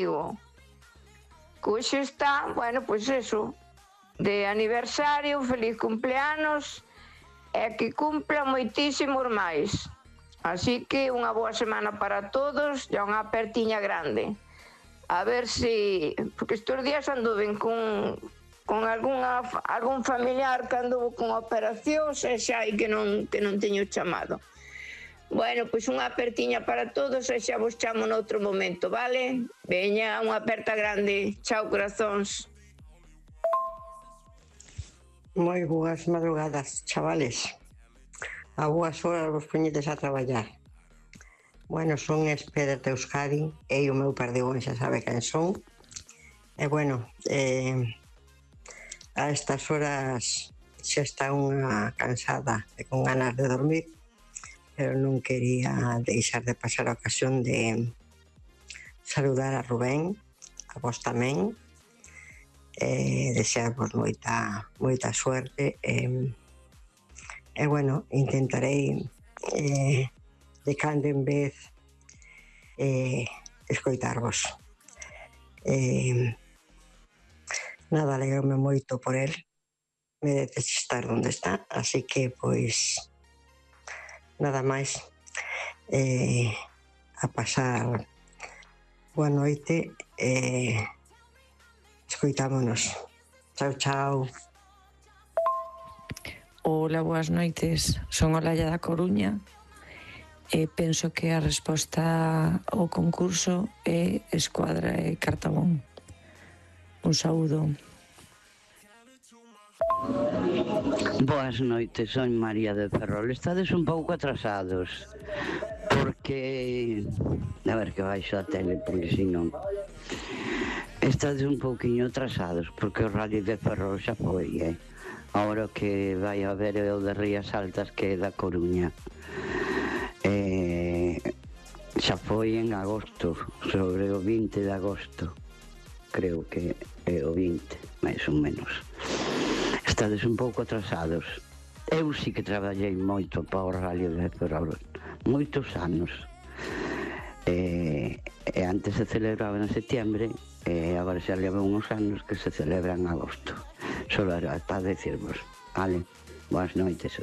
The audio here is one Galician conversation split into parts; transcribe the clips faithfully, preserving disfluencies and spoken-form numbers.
amigo. Hoxe está, bueno, pois eso, de aniversario, feliz cumpleanos, e que cumpla moitísimos máis. Así que unha boa semana para todos e unha apertiña grande. A ver se, porque estes días anduven con, con algunha, algún familiar que anduvo con operacións e xa hai que non, que non teño chamado. Bueno, pois unha apertiña para todos e xa vos chamo noutro momento, vale? Veña, unha aperta grande. Chao, corazóns. Moi boas madrugadas, chavales. A boas horas vos poñedes a traballar. Bueno, son Esper de Euskadi e o meu perdigón xa sabe quen son. E bueno, eh, a estas horas xa está unha cansada e con ganas de dormir, pero non quería deixar de pasar a ocasión de saludar a Rubén, a vos tamén, e desearvos moita, moita suerte. E, e bueno, intentarei eh, de cando en vez eh, escoitarvos. Eh, nada, alegrome moito por el, merece estar onde está, así que, pois, nada máis, eh, a pasar boa noite e eh, escoitámonos. Chao, chao. Hola, boas noites. Son Olalla da Coruña e penso que a resposta ao concurso é Escuadra e Cartabón. Un saúdo. Boas noites, son María de Ferrol. Estades un pouco atrasados porque... A ver que baixo a tele, porque si non... Estades un pouquiño atrasados porque o Rally de Ferrol xa foi, eh? Ahora que vai a ver o de Rías Altas, que é da Coruña. Eh, xa foi en agosto, sobre o vinte de agosto. Creo que é o vinte, máis ou menos. Estades un pouco atrasados. Eu sí que traballei moito para o Rally de Ferrol, moitos anos. E, e antes se celebraba en setiembre, e agora xa leva uns anos que se celebra en agosto. Solo era para decirvos, vale? Boas noites.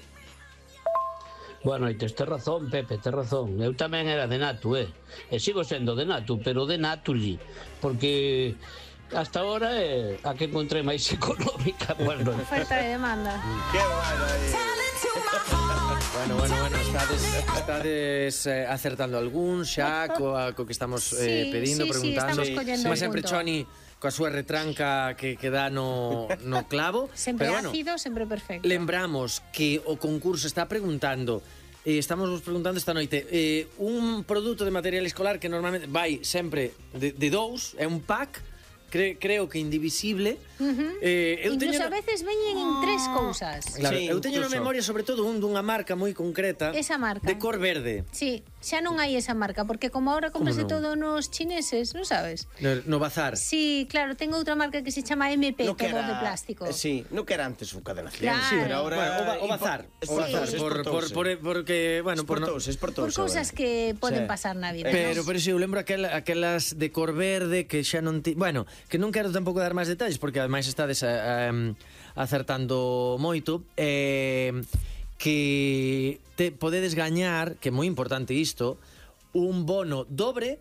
Boas noites, tes razón, Pepe, tes razón. Eu tamén era de Natu, eh? E sigo sendo de Natu, pero de Natuli, porque... hasta ahora é a que encontré máis económica. Bueno, oferta e demanda. Que bueno aí. Bueno, bueno, bueno, estades, estades eh, acertando algún xa co, a, co que estamos eh, sí, pedindo, sí, preguntando. Sí, sí, Como sempre, Choni, coa súa retranca que, que dá no, no clavo. Sempre pero, bueno, ácido, sempre perfecto. Lembramos que o concurso está preguntando, eh, estamos vos preguntando esta noite, eh, un produto de material escolar que normalmente vai sempre de, de dous, é un pack, Cre, creo que indivisible. Uh-huh. eh, eu Incluso teño... a veces veñen en tres cousas. Claro, sí, eu teño na incluso. memoria sobre todo un dunha marca moi concreta. Esa marca. De cor verde. Sí, xa non hai esa marca, porque como ahora comprase non? todo nos chineses, non sabes? No, no bazar. Sí, claro, tengo outra marca que se chama M P, No todo que era- de plástico. eh, Sí, no que era antes un cadena cien, Claro. sí, pero ahora... Bueno, o, ba, o bazar, o bazar, Sí. por, por, por, porque, bueno, por, no, Esportouse, esportouse. Por cousas que poden Sí. pasar na vida. pero, ¿no? pero si eu lembro aquel, aquelas de cor verde que xa non ti, bueno, que non quero tampouco dar máis detalles porque ademais estades a, a, acertando moito, eh, que te podedes gañar, que é moi importante isto, un bono dobre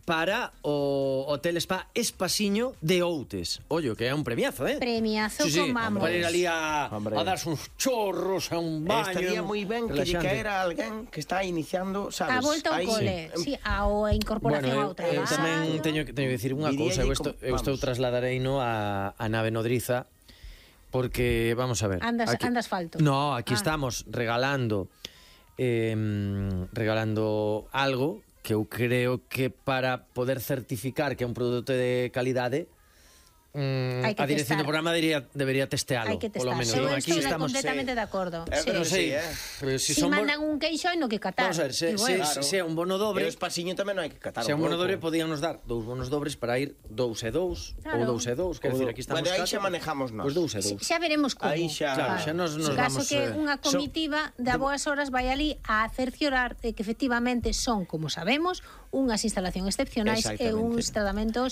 para o Hotel Spa Espasiño de Outes. Ollo, que é un premiazo, eh? Premiazo Sí, sí, con vamos. para ir ali a, Hombre. a darse uns chorros, a un baño. Estaría moi ben que lle relaxante. caera alguén que está iniciando, sabes? A volta ao Aí, cole, sí. sí, ao incorporación Bueno, ao eu, eu traballo. tamén teño que teño que dicir unha Diríalle cousa, eu, esto, como- eu estou vamos. trasladareino a, a nave nodriza porque, vamos a ver, Andas, andas falto. No, aquí Ah. estamos regalando eh, regalando algo que eu creo que para poder certificar que é un produto de calidade, Mm, Hai que a dirección testar. do programa debería, debería testealo. Hai que Polo testar. menos. Eu Non, estou estamos, completamente de acordo. Eh, Sí. pero non sei, sí, eh. pero si, Si son bo- mandan un queixo hai no que catar. Vamos a ver, se, se, Igual. Claro. se é un bono E dobre, o espasiño tamén non hai que catar se é un un bono pouco. dobre podían nos dar dous bonos dobres para ir dous e dous, Claro. ou dous e dous, quero Ou dicir, do- aquí estamos Bueno, aí catro, xa manejamos nós. Pois dous e Sí, dous. xa veremos como. Aí xa- Claro, xa nos, nos Se caso vamos que eh, unha comitiva de a boas horas vai ali a cerciorar de que efectivamente son, como sabemos, unhas instalacións excepcionais e Exactamente. uns tratamentos